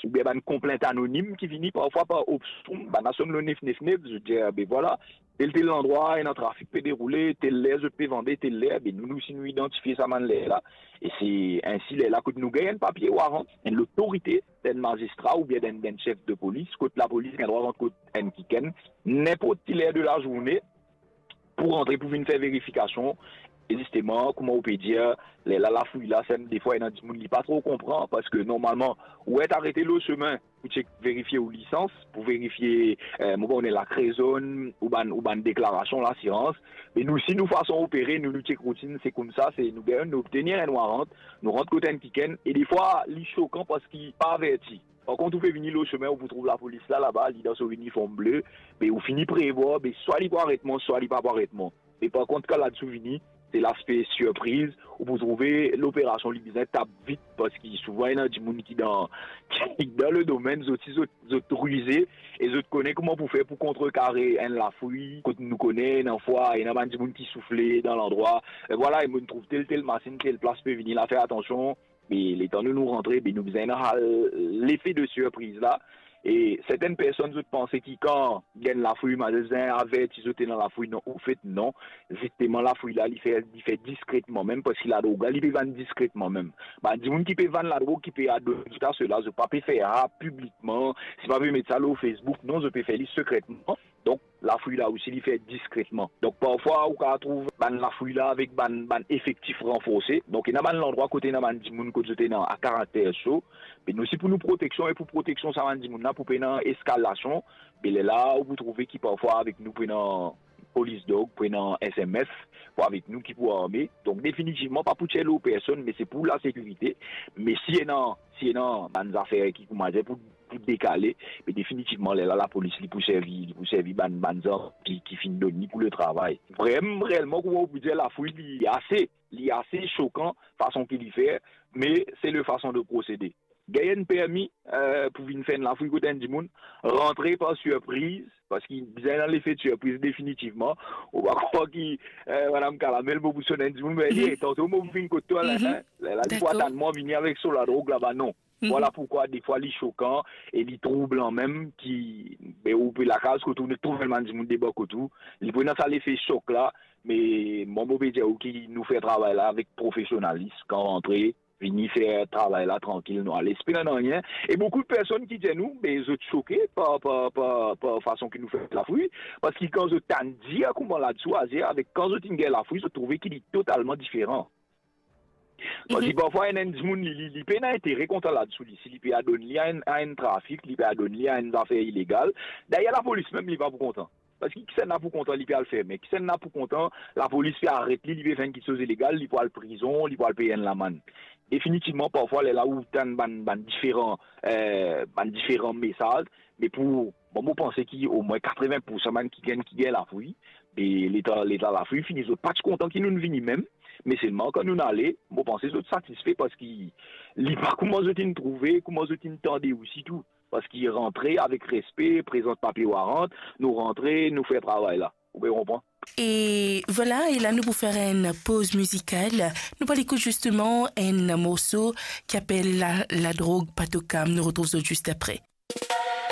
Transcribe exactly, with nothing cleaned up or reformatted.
oubien bann konplint anonim ki vini parfwa par opsion, bann la sonn lor nef nef nef, zot dir, "Be vwala, tel tel landrwa, ena trafik pe deroule, tel ler zot pe vande, tel ler." Be nou, nou, si nou idantifie sa bann ler la, e se ensi lerla kot nou gagn enn papie warant, enn lotorite, enn mazistra oubien enn, enn sef de polis, kot lapolis gagn drwa rant kot enn kikenn, ninport ki ler de lazourne, pou rantre, pou vinn fer verifikasion. E zisteman, kouma ou pe dir, lerla lafouy la, sa, defwa, ena dimoun li pa tro konpran, parski normalman, ou et arete lor semin pou chek, verifie ou lisans, pou verifie, eh, mo pa kone, lakre zonn, ou bann, ou bann deklarasion lasirans. Me nou, si nou fason opere, nou, nou chek routinn, se koumsa, se nou gagn, nou obtenir enn warant, nou rant kot enn kikenn, e defwa, li sokan parski pa averti. Par kont, ou pe vini lor semin, ou pou trouv lapolis la, laba, li dan so iniform ble, be ou fini prevwar, be swa li pou aret mwa, swa li pa pou aret mwa. Me par kont, kan ladsou vini, se laspe sirpriz, ou pou trouve loperasion li bizin tap vit, parski souvan ena dimoun ki dan, ki dan le domenn, zot si zot, zot rize, e zot kone kouma pou fer pou kontrekare enn lafouy, kot nou kone, ena fwa, ena bann dimoun ki soufle dan landrwa, e vwala, e mo trouv tel, tel masinn, tel plas pe vini la, fer atansion, be letan nou, nou rantre, be nou bizin ena lefe de sirpriz la. E sertenn personn, zot panse ki kan gagn lafouy, mazistra bizin averti zot ena lafouy, non, anfet, non. Zisteman, lafouy la, li fer, li fer diskretman mem, parski ladrog la, li pe vann diskretman mem. Bann dimoun ki pe vann ladrog, ki pe adone zot a sela, zot pa pe fer sa piblikman, zot pa pe met sa lor Facebook, non, zot pe fer li sekretman. Donk, lafouy la osi, li fer diskretman. Donk, parfwa, ou kav trouv bann lafouy la avek bann, bann efektif ranforse. Donk, ena bann landrwa kot ena bann dimoun kot zot ena karakter so. Me nou osi, pou nou proteksion e pou proteksion sa bann dimoun la, pou pena eskalasion, be lerla, ou pou trouve ki parfwa avek nou pou ena polis dog, pou ena S M F, pou avek nou ki pou arme. Donk, definitivman, pa pou tir lor personn, me se pou lasekirite. Me si ena, si ena bann zafer ki, kouma dir, pou, pou dekale, me definitivman, lerla, lapolis, li pou servi, li pou servi bann, bann zam ki, ki finn donn li pou letravay. Vrem-, reelman, kouma ou pou dir, lafouy, li ase, li ase sokan, fason ki li fer, me se le fason de prosede. Gagn enn permi, eh, pou vinn fer enn lafouy kot enn dimoun, rantre par sirpriz, parski bizin ena lefe de sirpriz definitivman. Ou pa krwar ki, eh, madam Kalamel, mo pou sonn enn dimoun, me, mhm, "Eh, tanto mo pou vinn kot twa la, mhm, hein?" Lerla, li pou, dakor, atann mwa vini avek so ladrog laba, non. Mhm. Vwala poukwa, defwa, li sokan e li troublan mem, ki, be, ou pe lakaz kot ou, trouv enn bann dimoun debor kot ou, li pou ena sa lefe sok la, me mwa, mo pe dir ou ki nou fer travay la avek profesionalis, kan rantre, vini fer travay la trankil, nou ale, pa pena nanye. E boukou de personn ki dir nou, be, zot soke par, par, par, par fason ki nou fer lafouy, parski kan zot tann dir kouma ladsou azir, avek kan zot inn gagn lafouy, zot trouve ki li totalman diferan. Parski, mhm, parfwa, enn, enn dimoun, li, li, li pena intere kontan ladsou li, si li pe adonn li a enn, a enn trafik, li pe adonn li a enn zafer ilegal. Dayer, lapolis mem, li pa pou kontan. Parski kisannla pou kontan, li pe al ferme. Kisannla pou kontan, lapolis pe aret li, li pe fer enn kiksoz ilegal, li pou al prizon, li pou al pey enn lamann. Definitivman, parfwa, lerla ou tann bann, bann diferan, eh, bann diferan mesaz, me pou, bon, mo panse ki omwin katreven poursan bann kikenn ki gagn lafouy, be letan, letan lafouy fini, zot pa ti kontan ki nou vini mem, me selman kan nou ale, mo panse zot satisfe, parski li pa kouma zot inn trouve, kouma zot inn tande osi tou. Parski rantre avek respe, prezant papie warant, nou rantre, nou fer travay la. Ou pe konpran? E vwala, e la nou pou fer enn poz mizikal. Nou pou al ekout zisteman enn morso ki apel La, Ladrog pa to kam. Nou retrouv zot zis apre.